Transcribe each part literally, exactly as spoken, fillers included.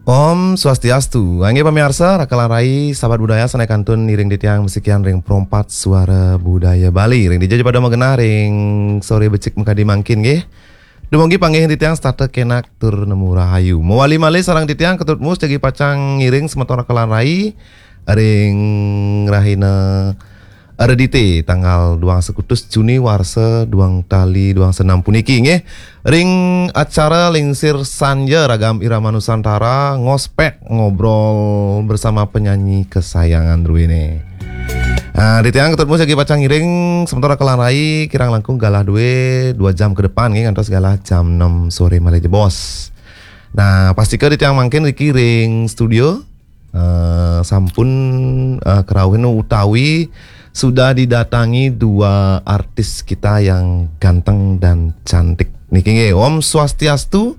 Om Swastiastu. Inggih pamiarsa, raka lan rai, sahabat budaya, sané kantun ngiring titiang masikian ring Pro empat Suara Budaya Bali. Ring dija ja pada magenah ring soré becik makadi mangkin nggih. Dumugi panggihin titiang setata kénak tur nemu rahayu. Mawali malih sareng titiang Ketut Mus jagi pacang ngiring semeton raka lan rai ring rahina Redité tanggal duang sekutus Juni warsa duang tali duang senam puniki nggih. Ring acara Lingsir Sanja Ragam Irama Nusantara, ngospek ngobrol bersama penyanyi kesayangan druéné. Nah, titiang Ketut Mus jagi pacang ngiring semeton raka lan rai kirang langkung galah dué dua jam ke depan nggih, ngantos galah jam enam soré malih jebos. Nah, pastika titiang mangkin niki ring studio eh, sampun eh, kerauhin utawi sudah didatangi dua artis kita yang ganteng dan cantik. Niki nggih, Om Swastiastu,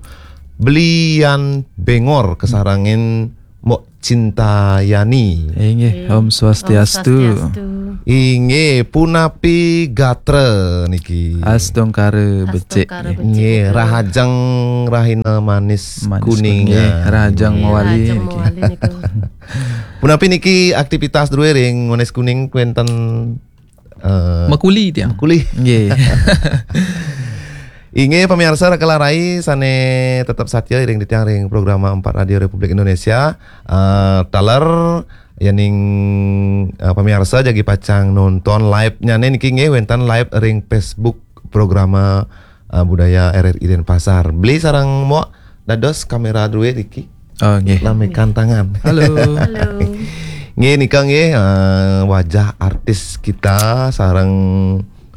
Bli Yan Bengor kasarengin Mbok Cinta Yani. Inggih, Om Swastiastu. Inggih, punapi gatra niki? Astungkara becik. Astungkara becik. Inggih, rahajeng rahina manis. Manis kuning. Kuning, rahajeng mawali niki. Rahajeng mawali niku. Punapi niki aktivitas drué ring Manis Kuning wénten eh, makuli tiang. Makuli. Nggih. Inggih pamiarsa raka lan rai sané tetep satia iring titiang ring Programa empat Radio Republik Indonesia. Eh, taler yéning eh, pamiarsa jagi pacang nonton live-nyané niki nggih wénten live ring Facebook Programa eh, Budaya R R I Denpasar. Bli sareng Mbok dados kaméra drué niki. Oh, nggih. Lamekan tangan. Halo. Halo. Nggih nika nggih eh, wajah artis kita sareng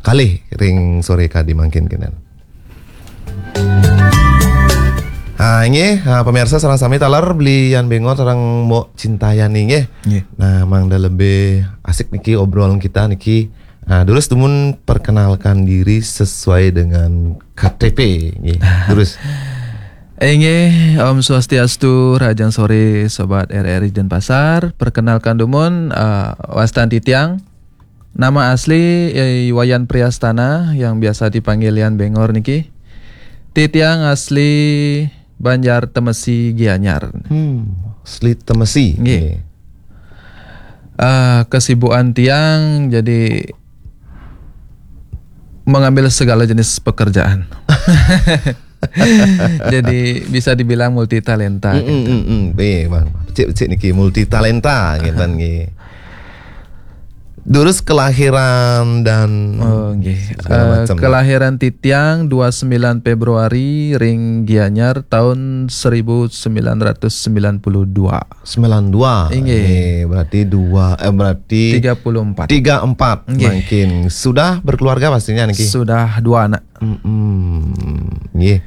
kalih ring soré kadi mangkin kénten. Ah, inggih, ah, pamiarsa sareng sami taler Bli Yan Bengor sareng Mbok Cinta Yani nggih. Nggih. Nah, mangda lebih asik niki obrolan kita niki. Nah, durus dumun perkenalkan diri sesuai dengan K T P nggih. Durus. Inggih, Om Swastiastu, rahajeng soré Sobat R R I Denpasar. Perkenalkan dumun, eh, wastan titiang. Nama asli, eh, Wayan Priastana yang biasa dipanggil Yan Bengor niki. Titiang asli Banjar Temesi Gianyar. Hmm, asli Temesi. Nggih. Nggih. Eh, kesibukan tiang jadi mengambil segala jenis pekerjaan. Jadi bisa dibilang multi talenta. Mm, mm, gitu. Mm, mm. Eh, Bang, becik-becik niki multi talenta ngénten nggih. Durus kelahiran dan Oh, nggih. Segala Eh, macam. Kelahiran titiang dua sembilan Februari ring Gianyar tahun seribu sembilan ratus sembilan puluh dua. Sembilan dua. Inggih. Nggih, berarti dua eh berarti tiga puluh empat. Tiga empat. Nggih. Mangkin sudah berkeluarga pastinya niki. Sudah dua anak. Mm-mm. Nggih.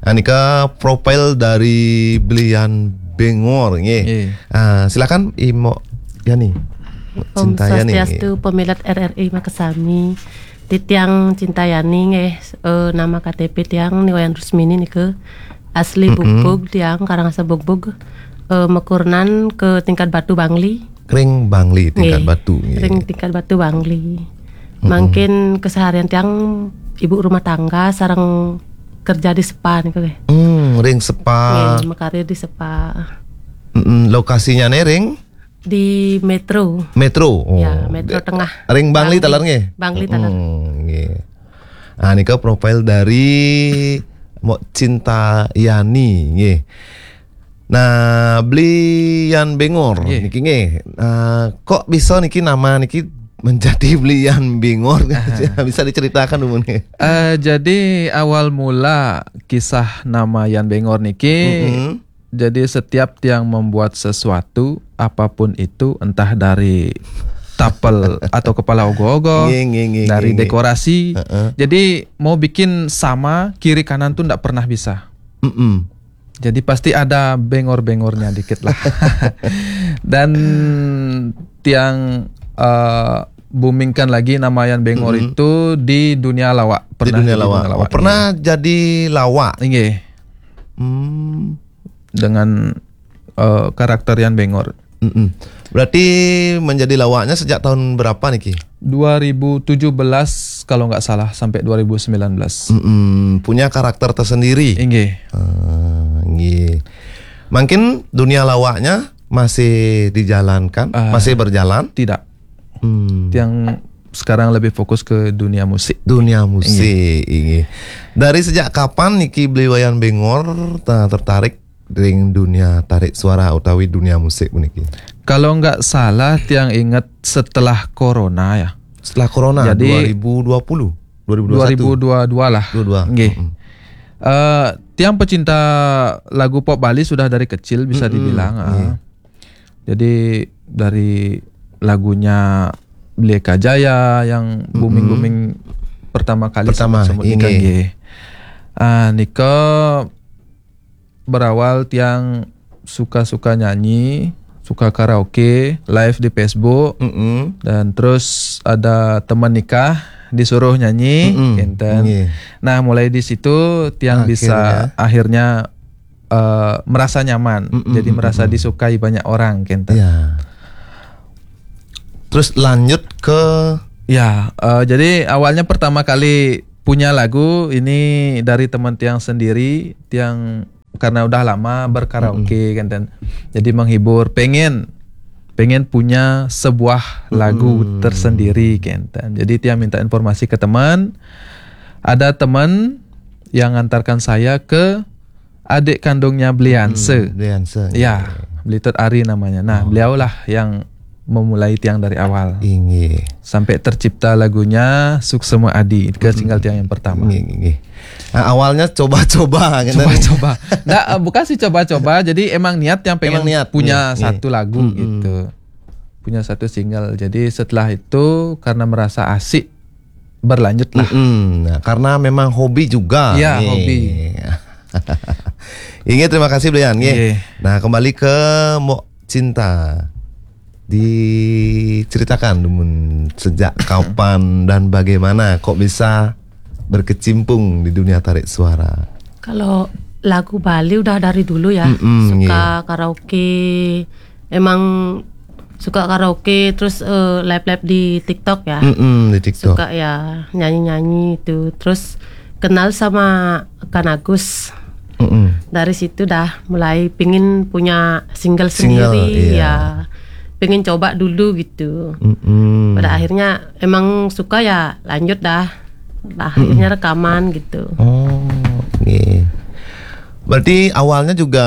Ah, nika profil dari Bli Yan Bengor nggih. Nggih. Ah, silakan Imo Yani. Om Cinta Yani, Swastiastu, nggih. Pamilet R R I makasami. Titiang Cinta Yani nggih, eh, nama K T P tiang Ni Wayan Rusmini nika. Asli Mm-mm. Bugbug tiang, Karangasem Bugbug. Eh, makurenan ke Tingkat Batu Bangli. Ring Bangli Tingkat Nggih, Batu nggih. Ring Tingkat Batu Bangli. Mm-mm. Mangkin keseharian tiang ibu rumah tangga sareng kerja di spa niku nggih. Hmm, ring spa. Nggih, makarya di spa. Mm-mm, lokasinya nih ring? Di Metro. Metro. Oh. Ya, Metro Tengah. Ring Bangli Bangli. Taler nggih? Bangli taler. Mm, nggih. Ah, nika profil dari Mbok Cinta Yani nggih. Nah, Bli Yan Bengor Nggih. Niki nggih. Ah, kok bisa niki nama niki menjadi Bli Yan Bengor? Aha. Bisa diceritakan dulu nih. Eh, jadi awal mula kisah nama Yan Bengor niki, Mm-mm. jadi setiap tiang membuat sesuatu, apapun itu, entah dari tapel atau kepala ogoh-ogoh, Nggih, nggih, nggih, dari nggih, nggih. Dekorasi. Heeh. Jadi mau bikin sama kiri kanan tuh ndak pernah bisa. Mm-mm. Jadi pasti ada bengor-bengornya dikit lah. Dan tiang eh, boomingkan lagi nama Yan Bengor Mm-mm. itu di dunia lawak. Di Pernah dunia di lawak. Dunia lawak. Oh, pernah Nggih. Jadi lawak. Nggih. Hmm. Dengan eh, karakter Yan Bengor. Mm-mm. Berarti menjadi lawaknya sejak tahun berapa niki? Dua ribu tujuh belas kalau nggak salah sampai dua ribu sembilan belas. Mm-mm. Punya karakter tersendiri. Inggih. Ah, nggih. Mungkin dunia lawaknya masih dijalankan, Ah. masih berjalan. Tidak. Hmm. Yang sekarang lebih fokus ke dunia musik. Dunia musik, inggih. Dari sejak kapan niki Beli Wayan Bengor ta- tertarik dengan dunia tarik suara utawi dunia musik puniki? Kalau nggak salah, tiang ingat setelah corona ya. Setelah corona, Jadi, dua ribu dua puluh, dua ribu dua puluh satu. dua ribu dua puluh dua lah. Dua puluh dua. Nggih. Mm-mm. Eh, tiang pecinta lagu pop Bali sudah dari kecil bisa Mm-mm, dibilang. Ah. iya. Jadi dari lagunya Beli Eka Jaya yang booming-booming pertama kali Pertama, sebut-sebut nika inggih. nggih. Ah, nika berawal tiang suka-suka nyanyi, suka karaoke, live di Facebook, Mm-mm. dan terus ada teman nikah disuruh nyanyi, Mm-mm, kinten. Inggih. Nah, mulai di situ tiang bisa akhirnya eh, merasa nyaman. Mm-mm, Jadi merasa mm-mm. disukai banyak orang, kinten. Ya. Terus lanjut ke Ya, eh, jadi awalnya pertama kali punya lagu ini dari teman tiang sendiri, tiang karena udah lama berkaraoke, kinten. Jadi menghibur, pengen pengen punya sebuah lagu Mm-mm. tersendiri, kinten. Jadi tiang minta informasi ke teman. Ada teman yang ngantarkan saya ke adik kandungnya Belianse. Hmm, Belianse. Ya, Belitut Ari namanya. Nah, Oh. Beliaulah yang memulai tiang dari awal. Inggih. Sampai tercipta lagunya Suksema Adi, ke single tiang yang pertama. Inggih, inggih. Nah, awalnya coba-coba gitu. Coba-coba. Nggak, eh, bukan sih coba-coba. Jadi emang niat yang pengen Emang niat, punya niat, niat. satu lagu Mm-mm. gitu. Punya satu single. Jadi setelah itu karena merasa asik, berlanjut lah. Mm-mm. Nah, karena memang hobi juga. Iya, Nih. Hobi. Inggih, terima kasih Belian. Nggih. Nggih. Nah, kembali ke Mbok Cinta. Diceritakan dumun sejak kapan dan bagaimana kok bisa berkecimpung di dunia tarik suara. Kalau lagu Bali udah dari dulu ya, Mm-mm, suka karaoke, emang suka karaoke, terus eh, live-live di TikTok ya. Mm-mm, di TikTok. Suka ya nyanyi-nyanyi itu, terus kenal sama Kan Agus. Mm-mm. Dari situ dah mulai pingin punya single, Single, sendiri iya. Ya, pingin coba dulu gitu. Mm-mm. Pada akhirnya emang suka ya, lanjut dah. Dah, akhirnya rekaman gitu. Oh, nggih. Berarti awalnya juga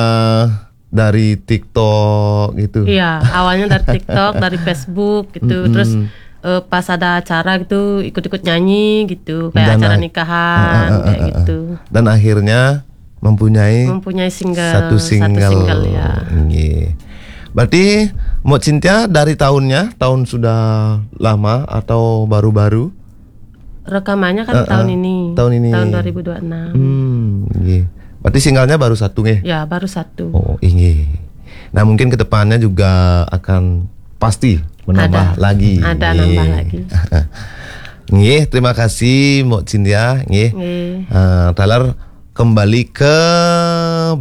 dari TikTok gitu. Iya, awalnya dari TikTok, dari Facebook gitu. Mm-mm. Terus eh, pas ada acara gitu, ikut-ikut nyanyi gitu, kayak Dan acara a- nikahan Ah, ah, ah, kayak ah, ah. Gitu. Dan akhirnya mempunyai Mempunyai single satu single. single ya. Nggih. Berarti Mbok Cynthia dari tahunnya, tahun sudah lama atau baru-baru? Rekamannya kan Eh, tahun eh, ini. tahun ini. Tahun dua ribu dua enam. Hmm, nggih. Berarti singlenya baru satu nggih? Ya, baru satu. Oh, inggih. Nah, mungkin ke depannya juga akan pasti menambah Ada. lagi. Ada Nggih. nambah lagi. Nggih, terima kasih Mbok Cynthia nggih. Nggih. Eh, taler kembali ke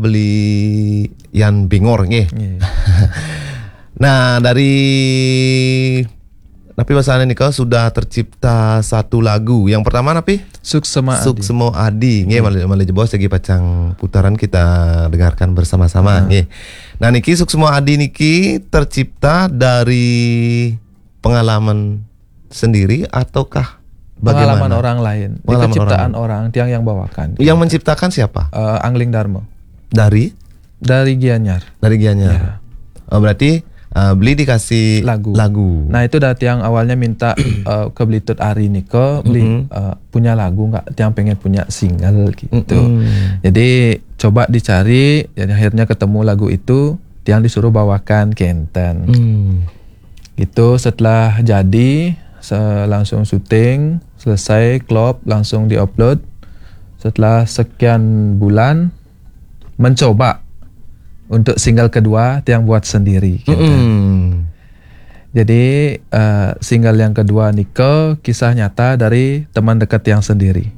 Belian Bengor nggih. Nggih. Nah, dari tapi bahasanya nih, kalau sudah tercipta satu lagu. Yang pertama napi? Suksema Adi. Suksema Adi. Nggih, malih, malih jebos lagi pacang putaran, kita dengarkan bersama-sama nggih. Nah, niki Suksema Adi niki tercipta dari pengalaman sendiri ataukah bagaimana? Pengalaman orang lain. Ini Pengalaman keciptaan orang. Orang, tiang yang bawakan. Yang menciptakan siapa? Eh, Angling Darmo. Dari? Dari Gianyar. Dari Gianyar. Ya. Oh, berarti eh, beli dikasih Lagu. lagu. Nah, itu dah tiang awalnya minta eh, ke Belitut Ari niko, beli Mm-mm. eh, punya lagu nggak? Tiang pengen punya single gitu. Mm-mm. Jadi coba dicari, jadi akhirnya ketemu lagu itu, tiang disuruh bawakan kenten. Hmm. Gitu, setelah jadi, se- langsung syuting, selesai klop, langsung diupload. Setelah sekian bulan mencoba untuk single kedua, tiang buat sendiri. Gitu. Mm-mm. Jadi eh, single yang kedua niko kisah nyata dari teman dekat tiang sendiri,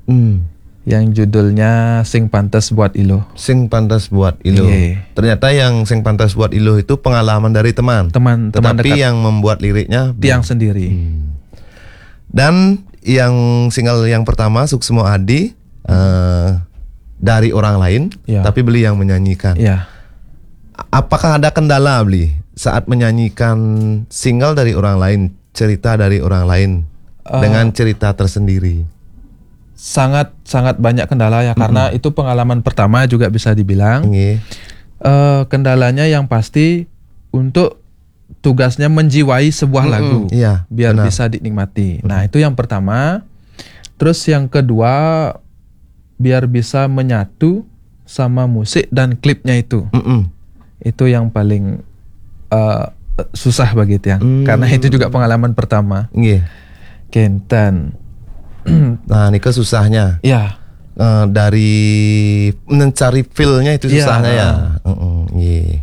Hmm. yang judulnya Sing Pantes Buat Ilo. Sing Pantes Buat Ilo. Iya. Ternyata yang Sing Pantes Buat Ilo itu pengalaman dari teman. Teman, teman Tetapi dekat. Yang membuat liriknya Tiang sendiri. Hmm. Dan yang single yang pertama, Suksemo Adi, eh, dari orang lain, Ya. tapi beli yang menyanyikan. Ya. Apakah ada kendala, Bli, saat menyanyikan single dari orang lain, cerita dari orang lain, Eh. dengan cerita tersendiri? Sangat sangat banyak kendala ya, karena itu pengalaman pertama juga bisa dibilang. Nggih. Eh, kendalanya yang pasti untuk tugasnya menjiwai sebuah Mm-mm, lagu iya, biar benar. Bisa dinikmati. Nah, itu yang pertama. Terus yang kedua, biar bisa menyatu sama musik dan klipnya itu. Mm-mm. Itu yang paling eh, susah bagi tiang. Hmm. Karena itu juga pengalaman pertama. Nggih. Kenten. Nah, niku susahnya. Ya, Eh, dari mencari feel-nya itu Iya. Susahnya ya. Mm-mm, nggih.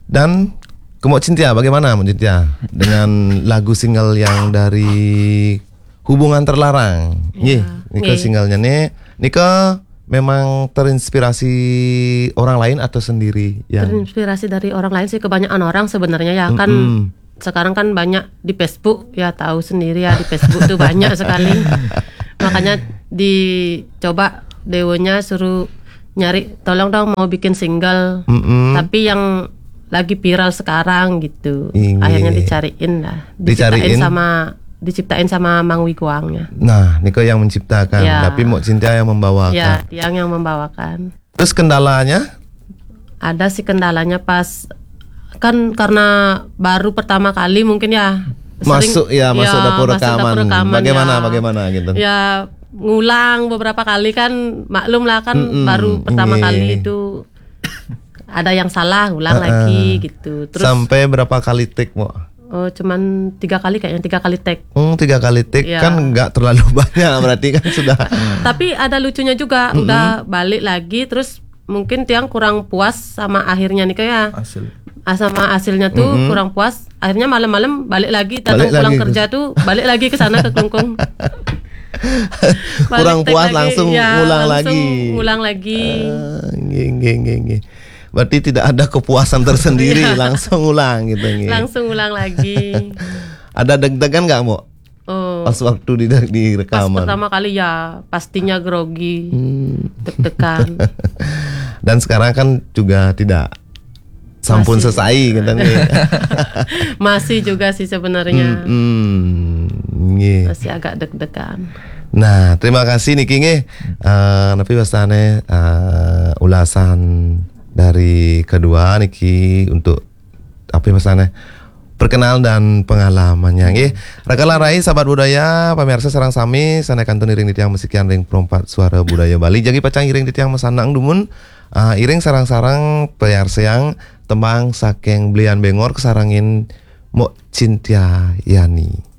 Dan ke Mbok Cynthia, bagaimana Mbok Cynthia dengan lagu single yang dari Hubungan Terlarang? Nggih, Iya, niku nggih. Singlenya nih, niku memang terinspirasi orang lain atau sendiri yang Terinspirasi dari orang lain sih, kebanyakan orang sebenarnya ya kan. Mm-mm. Sekarang kan banyak di Facebook, ya tahu sendiri ya, di Facebook tuh banyak sekali. Makanya dicoba Dewonya suruh nyari, "Tolong dong, mau bikin single." Mm-mm. Tapi yang lagi viral sekarang gitu. Iya. Akhirnya dicariin lah. Diciptain Dicariin. sama diciptain sama Mang Wiguangnya. Nah, niku yang menciptakan, Ya. Tapi Mbok Cynthia yang membawakan. Ya, tiang yang membawakan. Terus kendalanya? Ada sih kendalanya pas kan karena baru pertama kali mungkin ya. Masuk, ya, masuk dapur masuk rekaman. Bagaimana, ya. bagaimana gitu? Ya ngulang beberapa kali kan, maklum lah kan, Mm-mm, baru pertama iya. Kali itu ada yang salah, ulang Heeh. Lagi gitu. Terus Sampai berapa kali take, Mbok? Oh, cuman tiga kali kayaknya, tiga kali take. Hmm, tiga kali take Iya. Kan nggak terlalu banyak, berarti kan sudah. Tapi ada lucunya juga, udah balik lagi, terus mungkin tiang kurang puas sama akhirnya nih, kayak Hasil. ah, sama hasilnya tuh kurang puas. Akhirnya malam-malam balik lagi, datang Balik pulang lagi. Kerja tuh balik lagi ke sana, ke Klungkung. Balik Kurang take puas lagi, langsung ya, ngulang langsung lagi. Ulang lagi. Ah, nggih, nggih, nggih, nggih. Berarti tidak ada kepuasan tersendiri, Iya. Langsung ulang gitu, nggih. Langsung ulang lagi. Ada deg-degan nggak, Mbok? Oh, Pas waktu di, di pas rekaman. Pertama kali ya pastinya grogi, Hmm. Deg-degan. Dan sekarang kan juga tidak sampun Masih. Selesai gitu, nggih. Masih juga sih sebenarnya. Hmm, nggih. Masih agak deg-degan. Nah, terima kasih niki, nggih. Eh, tapi biasanya eh, ulasan dari kedua niki untuk apa biasanya perkenal dan pengalamannya, nggih. Raka lan rai, sahabat budaya, pemirsa sareng sami, sané kantun iring titiang masikian ring Perempat Suara Budaya Bali. Jagi pacang iring titiang masanang dumun, eh, iring sareng-sareng payarsiang tembang saking Blian Bengor kasarengin Mbok Cynthia Yani.